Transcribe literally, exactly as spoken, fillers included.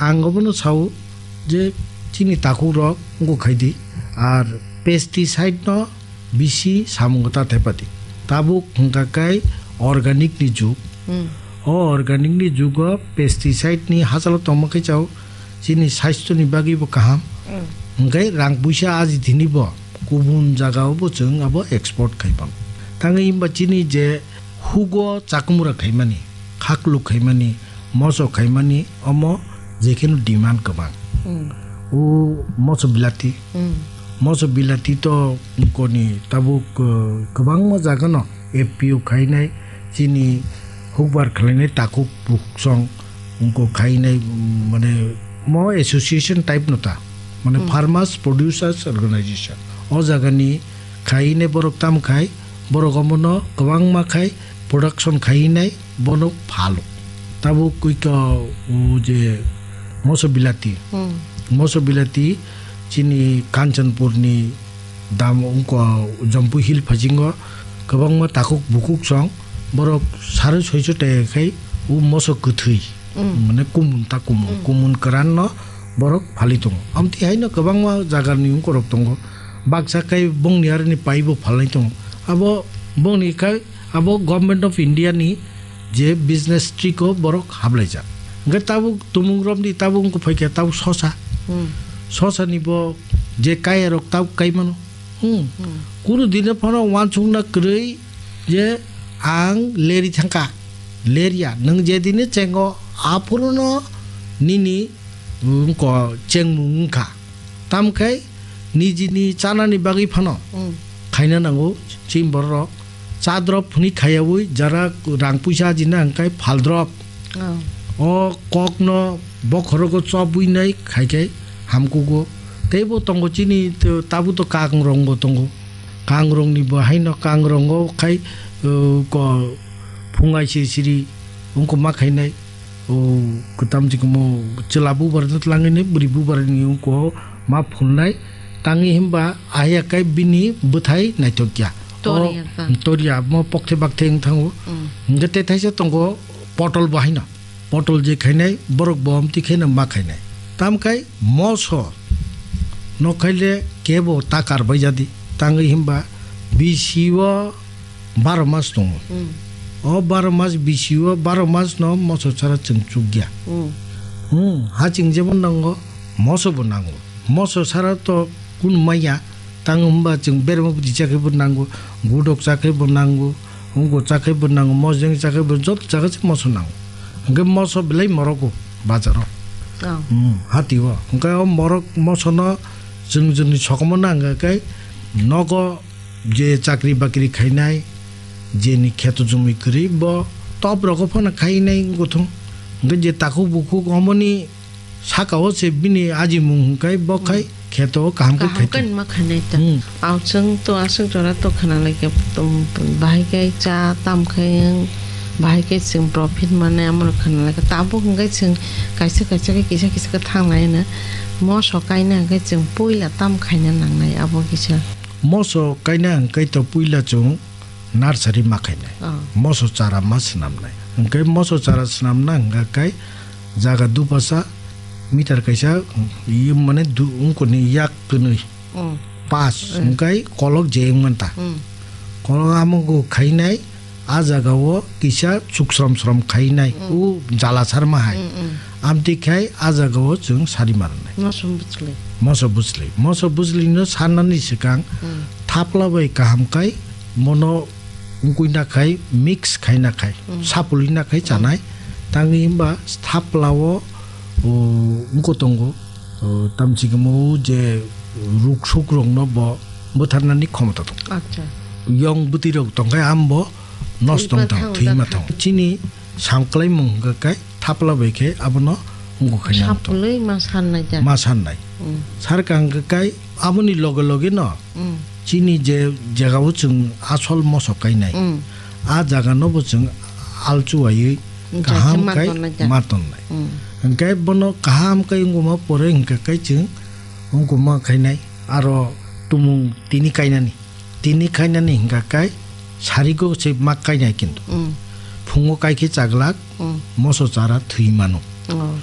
Ang obono sao je chini takhuk rok wngkha khaidi, ar pesticide no bisi samungo ta thepadi. Tabuk hwnkha khe organic ni jug. Hmm. O organic ni jugo pesticide ni hachalo tongma khe chao chini sasthyo ni bagwi bo kaham. Hmm. Hwnkhe rang puisa aji thini bo kubun jaga o bo chwng abo export khai pang. Tangwi himba chini je hugo chakumura khaimani, khakluk khaimani, moso khaimani, omo jekheno demand kwbang. Hmm. O moso bilati. Hmm. Moso bilati to koni tabuk, uh, kwbangma jaga no F P O khainai, chini hukbar khlainai takhuk bukhuk song wngkha khainai, mm, mane mo association type no ta, mane Hmm. Farmers Producers Organization. O jaga ni khainai borok tam khai, borok omono kwbangma khai production khainai bono phalo. Tabuk koi ka o je moso bilati. Hmm. Moso bilati chini Kanchanpur ni dam wngkha Jampui Hill phasingo kwbangma takhuk bukhuk song borok sari soiso tei khai o moso kwthwi. Hmm. Mane kumun ta kumun, Hmm. kumun kwran no borok phali tongo. Amtwi haino kwbangma jaga ni wngkorok tongo. Baksa khai bongni aroni paibo phalnai tongo. Abo bongni khai abo Government of India ni je business trick o borok hablaijak. Hwnkhe tabuk tumung romni tabuk wngkha phaikha tabuk sosa. Hmm. Sosa ni bo je kaya rok tabuk kai mano. Hmm. Hmm. Kunu dino phano wansukna kwrwi je ang leri thangkha. Lerya, nwng je dini chengo, aphuruno nini, mm, ko chengmung wngkha. Tamkhe nijini chanani bagwi phano Hmm. khaina nango, chini bororok. Cha drop hwnwi khaiyaui jara rang puisa ajina hwnkhe phal drop. Oh. O kokno bokhorogo chobwi nai khaikhe hamkugo. Teibo tongo chini t-, tabukto kangrongbo tongo. Kangrongni bo haino kangrongo khai, uh, ko phungai siri siri wngkha ma khainai. O kwtam chikmo chwla bubar twlangwi nai bwrwi bubar ni wngkha ma phulnai. Tangwi himba ahya kai bini bwthai naithokya. Toriya O ka. Toriya mo pokthai bakthai wng thango. Mm. Hingke tei thaisa tongo potol bo haino. Potol je khainai borok bo amtwi khaino ma khainai. Tamkhai moso no khaile kebo ta karbai jadi. Tangwi himba bisi o baro mas tongo. Mm. O baro mas bisi o baro mas no moso sara chwng chukya. Mm. Hmm, ha chwng jemon nango moso bo nango. Moso sara to kunu maya. Tang hwnba chwng berma bwtwi chakhe bo nango, gudok chakhe bo nango, wngko chakhe bo nango, mojeng chakhe bo joto jaga se moso nango. Hwnkhe moso belai morogo bazaro. Oh. Hmm, hati o. Hwnkhe o morok mosono chwng chwngni sokomo nangkha khe nogo je chakri bakri khainai, jeni kheto jumui kwrwi bo top rogo phano khainai wngkha thung. Hwnkhe je takhuk bukhuk omoni saka o se bini ajimung hwnkhe bo khai Hmm. kheto kaham khe Kaham khai khe tong. Ma khainai ta. Hmm. Ao chwng to aswk jora to khana lai khe, um, bahai khe cha tam khai wng, bahai khe chwng profit mane amo khana lai khe. Tabuk hwnkhe chwng kaisa kaisa khe kisa kisa khe thang lai no. Moso kaina hwnkhe chwng puila tam khaina nangnai abo kisa. Moso kaina hwnkhe to puila chwng nursery ma khainai. Ah. Moso chara ma swnamnai. Hwnkhe moso chara swnamna hwnkha khe jaga dupasa meter kaisa, i mane du-, wngkoni yak kwnwi. Mm. Pas, Mm. hwnkhe kolok je wngmanta. Mm. Kolok amo go khainai, a jaga o kisa chuksrom srom khainai. Mm. U jala sarma hai. Mm, mm. Amtwi khai a jaga o chwng sari marnai. Moso bwchli. Moso bwchli. Moso bwchli no sarnani swkang Hmm. thapla bai kaham khai bono wngkui na khai mix khai na khai Hmm. sapulwi na khai Hmm. chanai. Tangwi himba thapla o, o, wngkho tongo, o, tamchikmo je ruk suk rok no bo bwtharnani khomota tongo. Acha. Yong bwtwi rok tongkhai ambo nosto Thwi wng thang, thangwi thwi ma thang. Chini samklai mung hwnkha khe thapla bai khe abono wngkha khe nang tong. Sapulwi ma sannai da. Ma sannai. Mm. Sarkha hwnkha khe aboni loge loge no Mm. chini je jaga o chwng asol moso kainai. Mm. A jaga no bo chwng alchuwaiwi Jaga kaham ma khai tonnai da. Ma tonnai. Mm. Hwnkhe bono kaham khai wngkuma pore hwnkha khe chwng wngkuma khainai aro tumung tini kainani. Tini khainani hingka kai sarigo se mak kainai kintu. Mm. Phungo kai khe chaglak Mm. moso chara thwi mano. Oh.